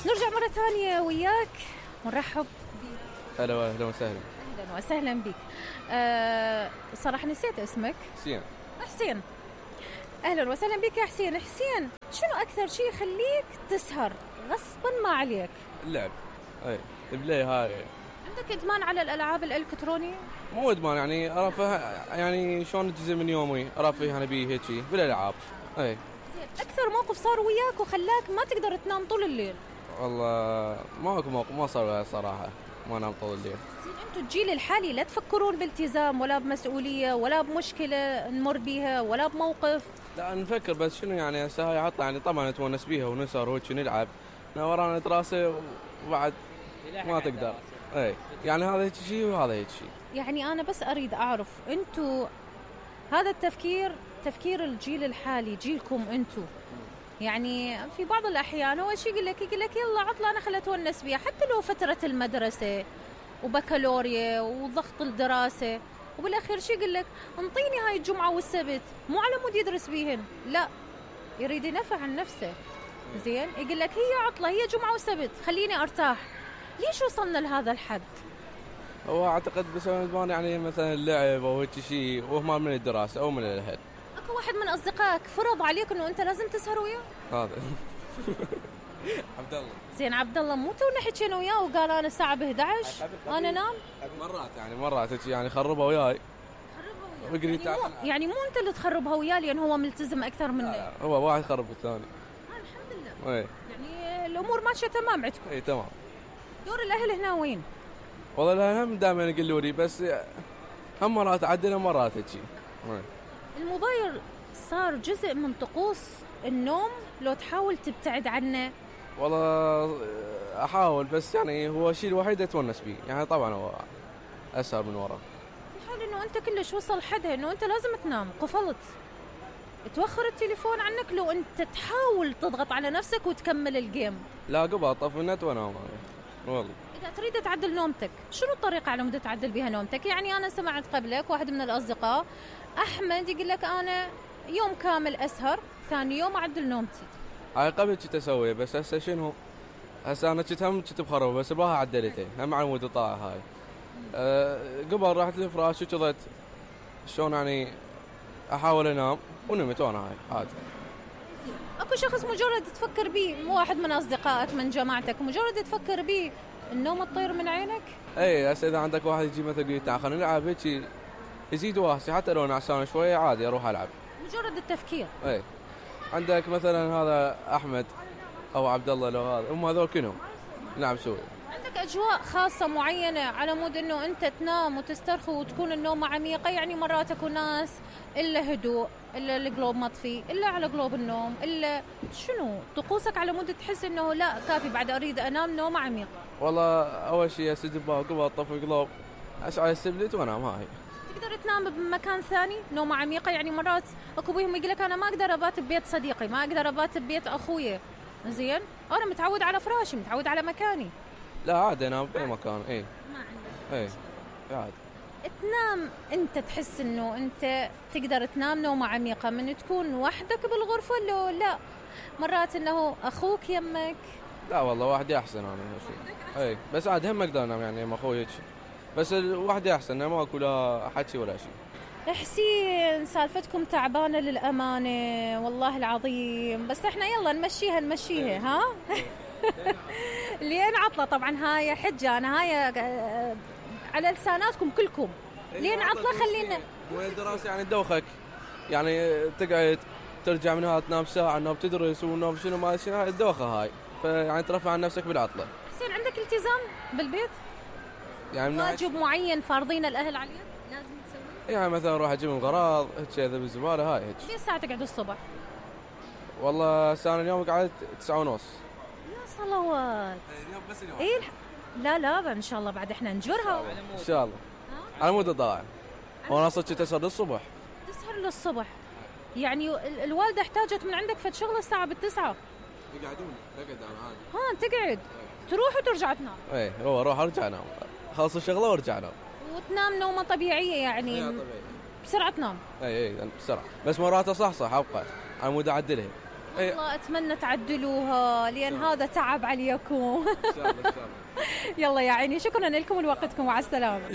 نرجع مرة ثانية وياك ونرحب. هلا اهلا وسهلا. اهلا وسهلا بك. صراحة نسيت اسمك. حسين. اهلا وسهلا بك يا حسين. حسين، شنو اكثر شيء يخليك تسهر غصبا ما عليك؟ اللعب. اي البلاي هاي. عندك ادمان على الالعاب الالكترونية؟ مو ادمان، يعني ارفه، يعني شلون جزء من يومي ارفه انا بيه هيك بالالعاب. اي زين، اكثر موقف صار وياك وخلاك ما تقدر تنام طول الليل؟ والله ماكو موقف ما صار صراحة ما نام طول الليل. زين، انتم الجيل الحالي لا تفكرون بالتزام ولا بمسؤولية ولا بمشكلة نمر بيها ولا بموقف؟ لا نفكر، بس شنو يعني هسه هاي عطله، يعني طبعا نتونس بيها ونسهر وهيك نلعب، ورانا دراسة وبعد ما تقدر. اي يعني هذا هيك شيء وهذا هيك شيء. يعني انا بس اريد اعرف، انتم هذا التفكير تفكير الجيل الحالي، جيلكم انتم، يعني في بعض الأحيان هو شيء يقول لك يلا عطلة أنا خلت ونس بيها، حتى لو فترة المدرسة وبكالوريا وضغط الدراسة، وبالأخير شيء يقول لك انطيني هاي الجمعة والسبت، مو على مود يدرس بيهن، لا يريد ينفع عن نفسه. زين، يقول لك هي عطلة، هي جمعة وسبت، خليني أرتاح. ليش وصلنا لهذا الحد؟ هو أعتقد بسبب يعني مثلا اللعب أو هيك شيء، وهما من الدراسة أو من الأهل. اكو واحد من اصدقائك فرض عليك انه انت لازم تسهر وياه؟ هذا عبد الله. زين عبد الله، مو تونا حكينا وياه وقال انا الساعه ب11 انا نام؟ مرات يعني خربها وياي. يعني مو انت اللي تخربها وياه لان هو ملتزم اكثر منك؟ هو واحد خرب الثاني. الحمد لله. اي يعني الامور ماشيه تمام عندكم؟ اي تمام. دور الاهل هنا وين؟ والله الاهل هم دائما يقولوا لي، بس هم مرات عدنا مرات هيك. الموبايل صار جزء من طقوس النوم، لو تحاول تبتعد عنه؟ والله احاول، بس يعني هو الشيء الوحيد اتونس به، يعني طبعا هو اسهر من ورا. في حال انه انت كلش وصل حدها انه انت لازم تنام، قفلت، توخر التليفون عنك لو انت تحاول تضغط على نفسك وتكمل الجيم. لا قبل طفي النت وانام والله. اذا تريد تعدل نومتك، شنو الطريقه على مود تعدل بها نومتك؟ يعني انا سمعت قبلك واحد من الاصدقاء احمد يقول لك انا يوم كامل اسهر، ثاني يوم اعدل نومتي. هاي قبل كنت اسوي، بس هسه شنو، هسه انا كنت بخرب، بس بها عدلته هم على مود طاعه هاي. قبل رحت للفراش وكذت شلون يعني احاول انام ونمت وانا هاي عادي. اكو شخص مجرد تفكر بيه، مو واحد من اصدقائك من جماعتك، مجرد تفكر بيه النوم تطير من عينك؟ اي هسه اذا عندك واحد يجي مثلا يقول تعال خلينا نلعب هيك، يزيد واسي حتى لو نعسان شويه عادي اروح العب، مجرد التفكير. اي عندك مثلا هذا احمد او عبد الله، لو هذا هم هذول كلهم نلعب سوي. عندك اجواء خاصه معينه على مود انه انت تنام وتسترخي وتكون النومه عميقه؟ يعني مرات اكو ناس الا هدوء، الا القلوب مطفي، الا على قلوب النوم، الا شنو طقوسك على مود تحس انه لا كافي بعد اريد انام نومه عميقه؟ والله اول شيء اسجل قبل اطفي قلوب، اشعل السبلت وانام. هاي تقدر تنام بمكان ثاني نومه عميقه؟ يعني مرات اكو بيهم يقول لك انا ما اقدر ابات ببيت صديقي، ما اقدر ابات ببيت اخويا. زين، انا متعود على فراشي، متعود على مكاني. لا عادي انام باي مكان. اي ما عندك عادي. تنام انت تحس انه انت تقدر تنام نومه عميقه من تكون وحدك بالغرفه لو لا مرات انه اخوك يمك؟ لا والله وحدي احسن انا شيء. اي بس عاد هم اقدر انام يعني مع اخوي، بس وحدي احسن، ما اكو لا حكي ولا شيء. حسين، سالفتكم تعبانه للامانه والله العظيم، بس احنا يلا نمشيها ها. لين عطله طبعا، هاي حجه انا، هاي على لساناتكم كلكم. لين عطله خلينا وين الدراسه يعني تدوخك، يعني تقعد ترجع من هذا تنام ساعه، نوم تدرس ونوم شنو ما شنو، الدوخه هاي، فيعني ترفع عن نفسك بالعطله. حسين، عندك التزام بالبيت؟ يعني واجب معين فارضين الاهل عليك لازم تسويه؟ يعني مثلا اروح اجيب غراض هيك اذا بالزباله هاي هيك. ليه ساعه تقعد الصبح؟ والله انا اليوم قعدت 9:30. يا صلوات. اليوم بس اليوم. ايه لا ان شاء الله بعد احنا نجرها ان شاء الله. على مود ضاع وانا صرت تسهر للصبح. تسهر للصبح؟ يعني الوالده احتاجت من عندك فد شغله الساعه 9 يقعدون تقعد انا عادي. تقعد تروح وترجع تنام؟ اي هو اروح ارجع انام، خلص الشغله وارجع انام. وتنام نومه طبيعيه يعني؟ طبيعي. بسرعه تنام؟ اي بسرعه، بس مرات اصحصح ابقى على مود اعدلها. والله اتمنى تعدلوها لان هذا تعب عليكم. ان شاء الله ان شاء الله. يلا يا عيني، شكرا لكم ولوقتكم، مع السلامه.